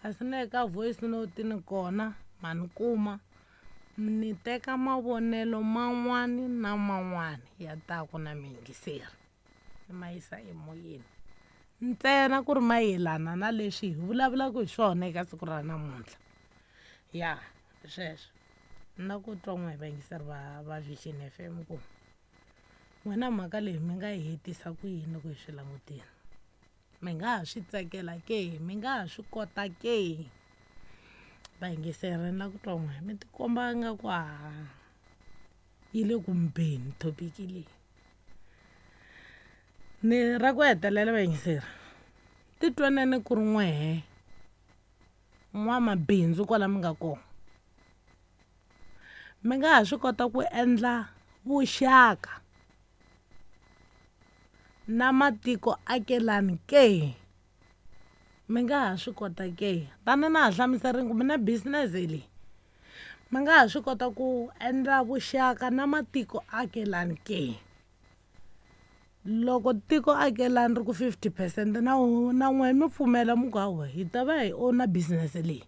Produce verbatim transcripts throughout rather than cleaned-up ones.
Kasi na le ka voice note ni kona ma ni kuma, ni teka mavonelo man'wani na man'wani ya taku na miyingiseri ni ma yisa emoyeni, ntsena ku ri mayelana na leswi hi vulavulaka hi swona eka siku ra namuntlha. Ya hi sweswo ni la ku twa n'we vayingiseri va va Vision F M ku n'wina mhaka leyi mi nga yi hetisa ku yini loko hi swi langutile, mi nga ha swi tsakela ke, mi nga ha swi kota ke? Vayingiseri ni la ku twa n'we, mi tikomba nga ku ha yi le ku mi beni thopiki leyi. Ni ra ku hetelela vayingiseri, titwaneni ku ri n'wehe n'wamabindzu kwala mi nga kona, mi nga ha swi kota ku endla vuxaka na matiko akelani ke? Mi nga ha swi kota ke? Tani na ha hlamuserini ku mi na business leyi, mi nga ha swi kota ku endla vuxaka na matiko akelani ke? Loko tiko akelani ri ku fifty percent na na n'we mi pfumela mi ku hawa hi ta va hi owner business leyi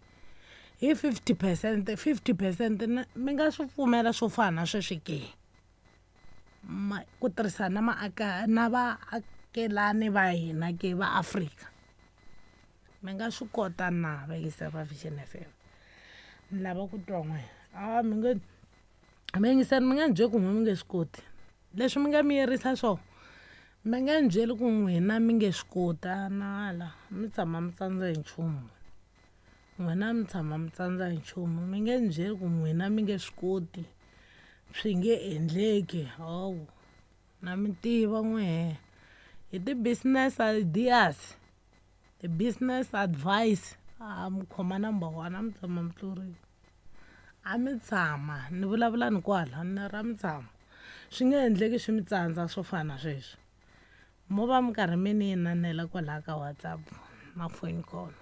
hi fifty percent, fifty percent, mi nga swi pfumela swo fana na sweswi ke? Ma ku tirhisana na maaka na vaakelani va hina ke va Afrika, mi nga swi kota na vayingiseri va Vision F M? Ni lava ku twa n'we. A mi nge vayingiseri, mi nga ni byeli ku n'we mi nge swi koti leswi mi nga mi yerisa swona, mi nga ni byeli ku n'wina mi nge swi koti. A na ala mi tshama mi tsandza hi nchumu n'wina, mi tshama mi tsandza hi nchumu. Mi nge ni byeli ku n'wina mi nge swi koti, swi nge endleki. Hawu, na mi tiva n'wehe hi ti-business ideas, ti-business advice, a mi khoma number one, a mi tshama mi hluriwa, a mi tshama ni vulavula ni kwala ni ra mi tshama, swi nge endleki swi mi tsandza swo fana na sweswi. Mo va mi karhi mi ni inanela kwalaya ka WhatsApp na phone call,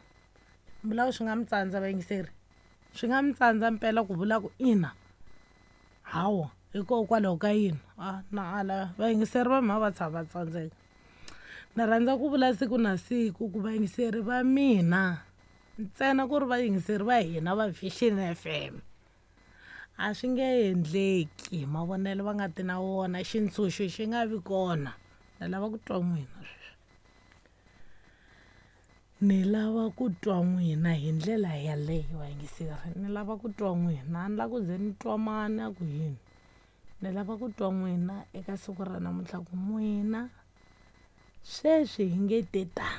mi vula ku swi nga mi tsandza vayingiseri, swi nga mi tsandza mpela ku vula ku ina hawa hikokwalaho ka yini? A na ala vayingiseri va mina va tshama va tsandzeka. Ni rhandza ku vula siku na siku ku vayingiseri va mina, ntsena ku ri vayingiseri va hina va Vision F M, a swi nge endleki mavonelo va nga ti na wona, xintshunxo xi nga vi kona. Ni lava ku twa n'wina sweswi, ni lava ku twa n'wina hi ndlela yaleyo vayingiseri, ni lava ku twa n'wina, a ni lava ku ze ni twa mani a ku yini, ni lava ku twa n'wina eka siku ra namuntlha ku n'wina sweswi hi nge te ta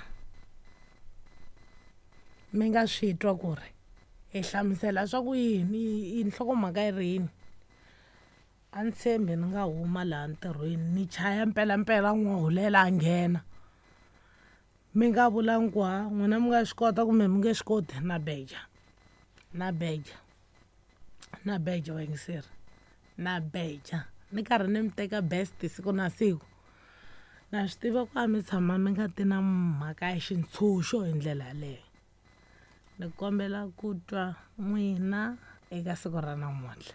mi nga swi twa ku ri hi hlamusela swa ku yini, nhlokomhaka yi ri yini. A ni tshembi ni nga huma laha ntirhweni ni chaya mpelampela n'wahulela a nghena, mi nga vulangi ku ha n'wina mi nga swi kota kumbe mi nge swi koti. Na beja, na beja, na beja vayingiseri, na beja ni karhi ni mi teka best siku na siku. Na swi tiva ku a mi tshama mi nga ti na mhaka ya xintshunxo hi ndlela yaleyo. Ni kombela ku twa n'wina eka siku ra namuntlha.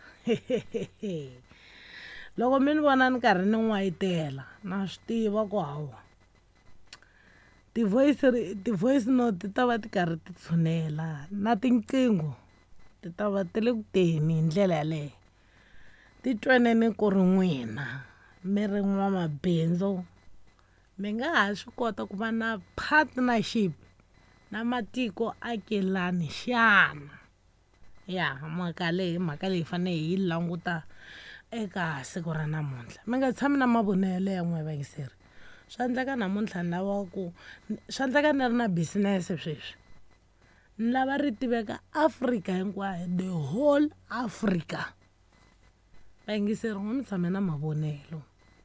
Loko mi ni vona ni karhi ni n'wayitela, na swi tiva ku hawa ti-voice ti-voice note ti ta va ti karhi ti tshunela na tinqingho ti ta va ti le ku teni hi ndlela yaleyo. Titwaneni ku ri n'wina mi ri n'wamabindzu, mi nga ha swi kota ku va na partnership na matiko akelani xana? Ya mhaka leyi, mhaka leyi hi fanele hi yi languta eka siku ra namuntlha. Mi nga tshami na mavonelo ya n'we vayingiseri, swa endleka namuntlha ni lava ku swa endleka ni ri na business sweswi, ni lava ri tiveka Afrika hinkwayo, the whole Africa. Vayingiseri n'we mi tshame na mavonelo,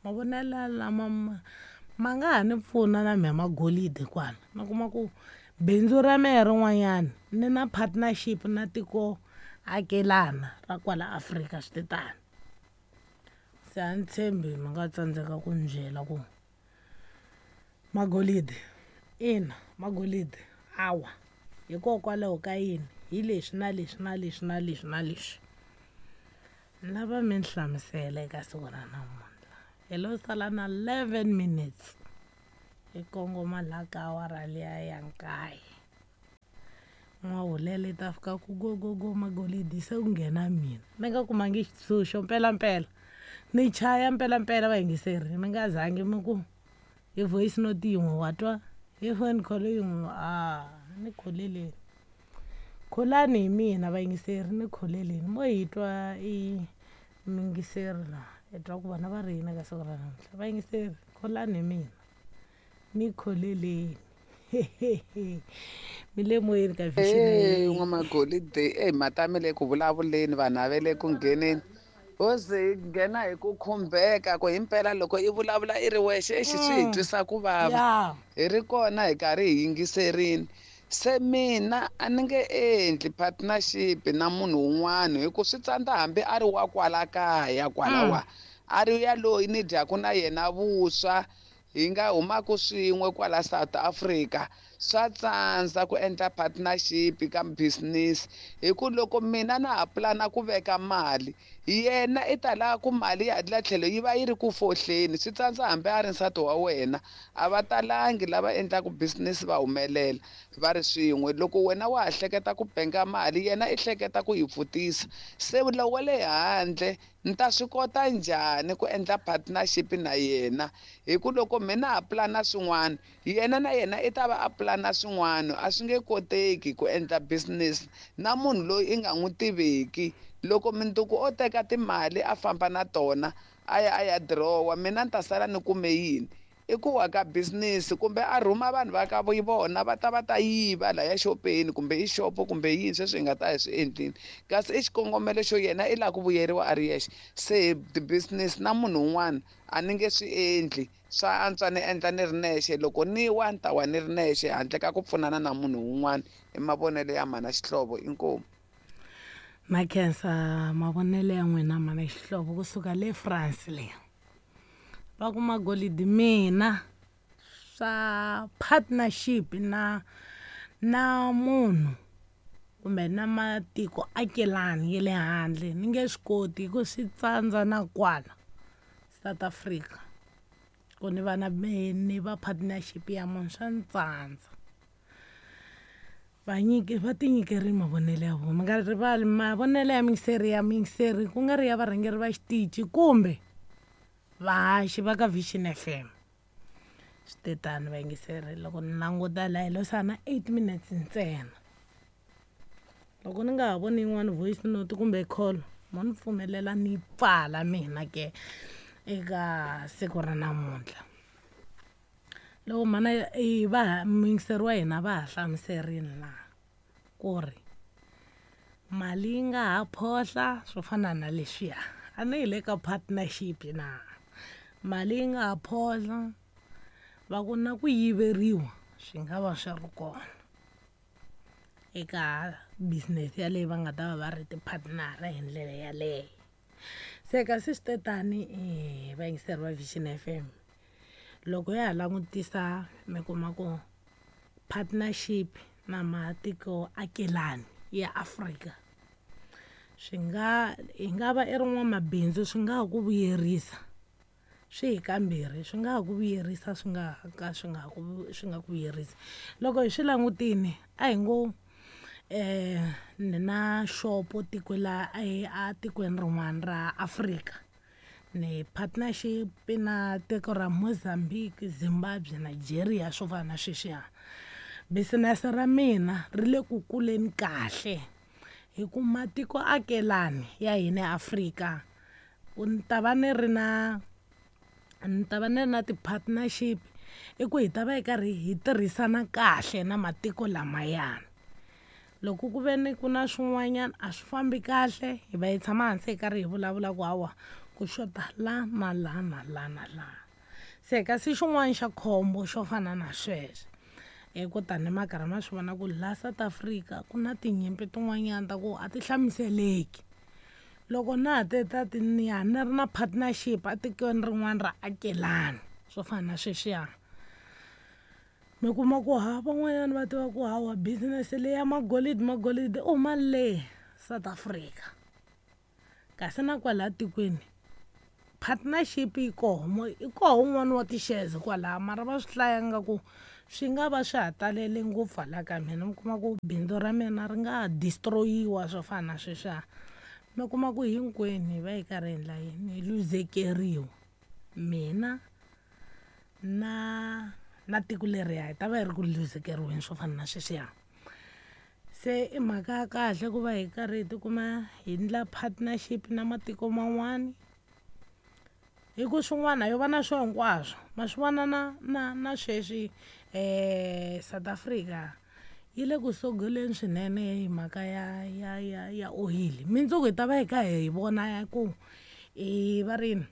mavonelo lama ma nga ha ni pfuna na mehe magolide kwala, mi kuma ku bindzu ra mehe rin'wanyana ni na partnership na tiko akelana ra kwala Afrika, swi te tani. Se a ni tshembi mi nga tsandzeka ku ni byela ku magolide ina, magolide hawa, hikokwalaho ka yini, hi leswi na leswi na leswi na leswi na leswi. Ni lava mi ni hlamusela eka siku ra namuntlha. Hi lo sala na eleven minutes hi kongoma laha ka awara liya ya nkaye. N'wahulela i ta fika ku go go go magolidi se ku nghena mina ni nga kumangi xitshunxo mpelampela ni chaya mpelampela vayingiseri mi nga zangi mi ku hi voice note yin'we wa twa hi phone call yin'we a ni kholeleni kholani hi mina vayingiseri ni kholeleni mo hi twa i muyingiseri la hi twa ku vona va ri yini ka siku ra namuntlha vayingiseri kholani hi mina ni kholeleni mi le moyeni ka Hey, n'wamagolide eyi mhata mi le ku vulavuleni vanhu a ve le ku ngheneni ho ze hi nghena hi ku khumbeka ku himpela loko i vulavula i ri wexe exi swi hi Mm. twisa ku vava ya hi ri kona hi karhi hi yingiserini se mina a ni nge endli partnership na munhu wun'wana hi ku swi tsandza hambi a ri wa kwala kaya kwalawa a ri yaloyi ni dyaku na yena vuswa hi nga humaku swin'we kwala South Africa swa tsandza ku endla partnership ka business hi ku loko mina na ha pulana ku veka mali yena i ta lava ku mali ya la tlhelo yi va yi ri ku fohleni swi tsandza hambi a ri nsati wa wena a va talangi lava endlaku business va humelela va ri swin'we loko wena wa ha hleketa ku benga mali yena i hleketa ku yi pfutisa se lowu wa le handle ni ta swi kota njhani ku endla partnership na yena hi ku loko mina ha pulana swin'wana yena na yena i ta va a pulana swin'wana a swi nge koteki ku endla business na munhu loyi i nga n'wi tiveki loko mundzuku o teka timali a famba na tona a ya a ya dirowa mina ni ta sala ni kume yini i ku wa ka business kumbe a rhuma vanhu va ka vona va ta va ta yiva laya xopeni kumbe i xopo kumbe yini sweswi hi nga ta hi swi endlini kasi i xikongomelo xo yena i lava ku vuyeriwa a ri yexe se ti-business na munhu un'wana a ni nge swi endli swa antswa ni endla ni ri nexe loko ni wa ni ta wa ni ri nexe handle ka ku pfunana na munhu un'wana i mavonelo ya mhana xihlovo inkomu na khensa mavonelo ya n'wina mana xihlovo kusuka le France le va ku magolidi mina swa partnership na na munhu kumbe na matiko akelani ya le handle ni nge swi koti hi ku swi tsandza na kwala South Africa ku ni va na ni va partnership ya munhu swa ni tsandza vanyiki va tinyikerile mavonelo ya vona mi nga rivali mavonelo ya miyingiseri ya miyingiseri ku nga ri ya varhangeri va xitichi kumbe vahaxi va ka Vision F M swi te tani vayingiseri loko ni languta laha hi lo sala na eight minutes ntsena loko ni nga ha voni yin'wani voice note kumbe call mo ni pfumelela ni pfala mina ke eka siku ra namuntlha loko mhana i va muyingiseri wa hina va ha hlamuserini laha ku ri mali yi nga ha phohla swo fana na leswiya a ni hi le ka partnership na mali yi nga ha phohla va ku na ku yiveriwa swi nga va swi ri kona eka business yaleyo va nga ta va va ri ti-partner hi ndlela yaleyo se kasi swi te tani vayingiseri va Vision F M loko ya ha langutisa mi kuma ku partnership na matiko akelani ya Afrika swi nga hi nga va i ri n'wamabindzu swi nga ha ku vuyerisa swi hi kambirhi swi nga ha ku vuyerisa swi nga ka swi nga ku swi nga ku vuyerisi loko hi swi langutini a hi ngo eh ni na xopo tiko la a tikweni rin'wana ra Afrika ni partnership na tiko ra Mozambique, Zimbabwe, Nigeria swo fana na sweswiya business ra mina ri le ku kuleni kahle hi ku matiko akelani ya hina Afrika ku ni ta va ni ri na ni ta va ni ri na ti-partnership i ku hi ta va hi karhi hi tirhisana kahle na matiko lamayana loko ku ve ni ku na swin'wanyana a swi fambi kahle hi va hi tshama hansi hi karhi hi vulavula ku hawa ku xota la na la na la na la se kasi xin'wana xa khombo xo fana na sweswo i ku tani ma karhi ma swi vona ku la South Africa ku na tinyimpi tin'wanyana ta ku a ti hlamuseleki loko na ha te ta ti ni ya ni ri na partnership etikweni rin'wana ra akelani swo fana na sweswiya mi kuma ku ha van'wanyana va tiva ku hawa business leyi ya magolidi magolidi u huma le South Africa kasi na kwalaya tikweni partnership yi koho i koho wun'wani wa ti-shares kwalaya mara va swi hlaya nga ku swi nga va swa ha talele ngopfu hala ka mina. Mi kuma ku bindzu ra mina ri nga ha destroy-iwa swo fana na sweswiya. Mi kuma ku hinkwenu hi va hi karhi hi endla yini, hi luzekeriwa. Mina na na tiko leriya hi ta va hi ri ku luzekeriweni swo fana na sweswiya. Se i mhaka ya kahle ku va hi karhi hi tikuma hi endla partnership na matiko man'wani, hi ku swin'wana yo va na swo hinkwaswo. Ma swi vona na na na sweswi um South Africa yi le ku sogoleni swinene hi mhaka ya ya ya ya oyili. Mundzuku hi ta va hi kha hi vona ku i va ri yini,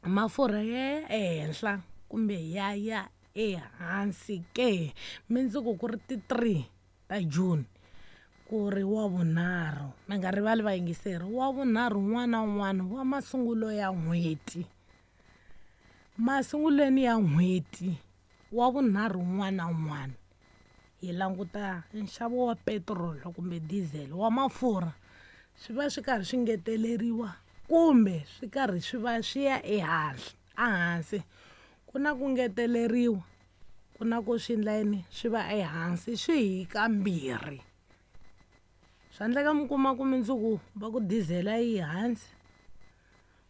mafurha ya ya ehenhla kumbe ya ya ehansi ke. Mundzuku ku ri ti three ta June, ku ri wa vunharhu. Mi nga rivali vayingiseri, wa vunharhu wun'wana na wun'wana wa masungulo ya n'hweti. Masungulweni ya n'hweti wa vunharhu wun'wana na wun'wana hi languta nxavo wa petiroli kumbe diesel wa mafurha, swi va swi karhi swi ngeteleriwa kumbe swi karhi swi va swi ya ehansi ehansi. Ku na ku ngeteleriwa, ku na ku swi endla yini, swi va ehansi, swi hi kambirhi. Swa endleka mi kuma ku mundzuku va ku diesel a yi hansi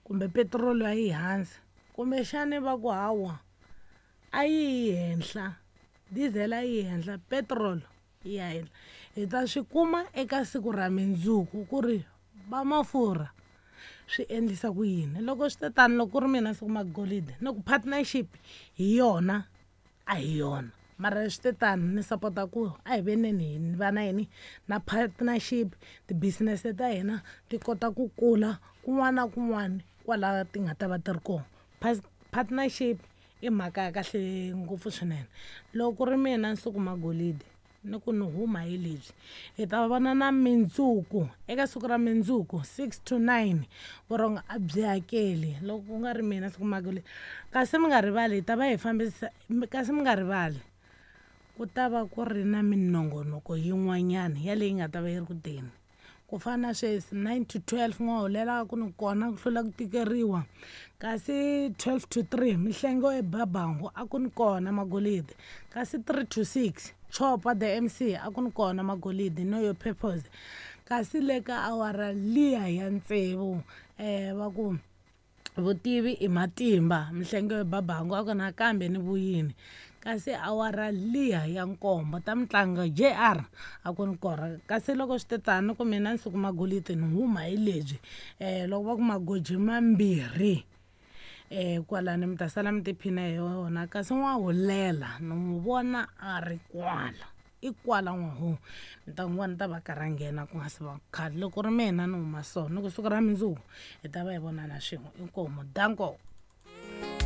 kumbe petiroli a yi hansi, kumbexani va ku hawa a yi yi henhla, diesel a yi henhla, petrol yi ya henhla. Hi ta swi kuma eka siku ra mundzuku ku ri va mafurha swi endlisa ku yini. Loko swi te tano, loko ku ri mina siku magolide ni ku partnership hi yona a hi yona, mara swi te tano ni sapota ku a hi veneni hi va na yini na partnership, ti-business ta hina ti kota ku kula kun'wana na kun'wana kwala ti nga ta va ti ri kona. Partnership i mhaka ya kahle ngopfu swinene. Loko ku ri mina Nsuku Magolide ni ku ni huma hi lebyi, hi ta vona na mindzuku eka siku ra mindzuku six to nine, vurhongo a byi hakeli. Loko ku nga ri mina Nsuku Magolide, kasi mi nga rivali hi ta va hi fambisa, kasi mi nga rivali ku ta va ku ri na minongonoko yin'wanyana ya leyi nga ta va yi ri ku teni. Ku fana na sweswi nine to twelve n'wahulela ku ni kona ku hlula ku tikeriwa, kasi twelve to three mihlengo ebabangu a ku ni kona magolide, kasi three to six Chopa the M C a ku ni kona magolide, know your purpose. Kasi le ka awara liya ya tsevu um va ku vutivi i matimba, mihlengo ebabangu a ku nakambe ni vuyini. Kasi awara liya ya nkombo ta mitlangu J R a ku ni kona. Kasi loko swi te tano ku mina Nsuku Magolide ni huma hi lebyi, um loko va ku magoji mambirhi um kwalani mi ta sala mi tiphina hi yona. Kasi n'wahulela ni n'wi vona a ri kwala, i kwala n'wahu, mi ta n'wi vona ta va karhi a nghena ku nga se va khale. Loko ri mina ni huma so ni ku siku ra mundzuku hi ta va hi vonana swin'we. Inkomu, danko.